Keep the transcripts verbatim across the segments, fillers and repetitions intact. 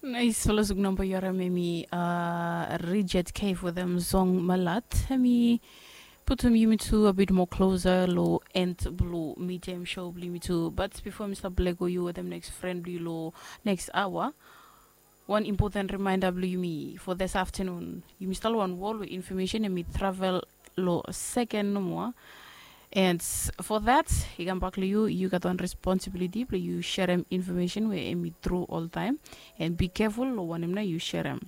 Nais, fala suk namba yu harim em i Richard Cave wetem song Malat. Em i putum yumi tu a bit more closer lo end blue medium show blue yumi tu. But before mi stap lego yu wetem next friend blue yu lo next hour, one important reminder blue yumi for this afternoon. Yumi start one wall with information em i travel lo second no more. And for that, i kam bak lo yu, yu gat one responsibility blue yu sharim information where em i true all time. And be careful lo wanem na yu sharim.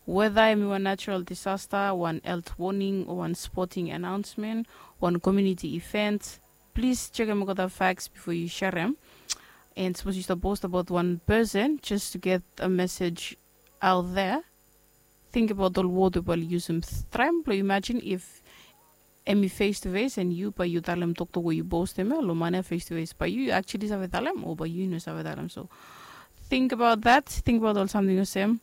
Whether em i one natural disaster, one health warning, or one sporting announcement, one community event, please check em got the facts before you share them. And suppose you start post about one person just to get a message out there. Think about the word we will use him. Try and imagine if em i face to face and you by you talem toktok we you post em lo mana face to face by you you actually save talem or by you no save talem. So think about that. Think about all something the same.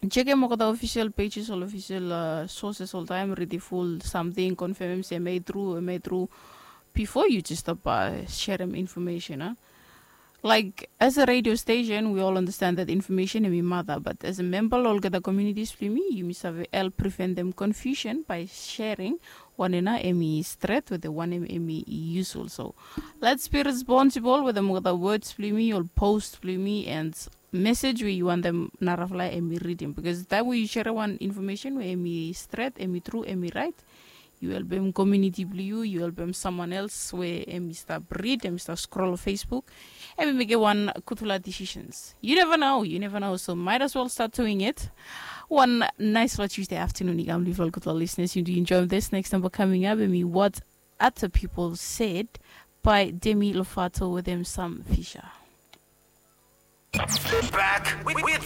Check em got the official pages or official uh, sources all time, read the full something, confirm em se em tru em tru before you just stop uh, share em information, huh? Like as a radio station we all understand that information em i mother, but as a member lo olgeta communities blong yumi yumi save help prevent them confusion by sharing wanem na em i stret wetem wanem em i useful. So let's be responsible wetem olgeta words blong yumi ol post blong yumi and message we yu wantem narafala em i reading, because taem we yu share one information we em i stret, em i tru, em i right, yu helpem community blong yu, yu helpem someone else we em i stap read, em i stap scroll Facebook, em i mekem one gudfala decisions. You never know, you never know, so might as well start doing it. One nice fala Tuesday afternoon i kam blong yufala gudfala listeners. You do enjoy this next number coming up, em i What Other People Said by Demi Lovato wetem Sam Fisher. Back with, with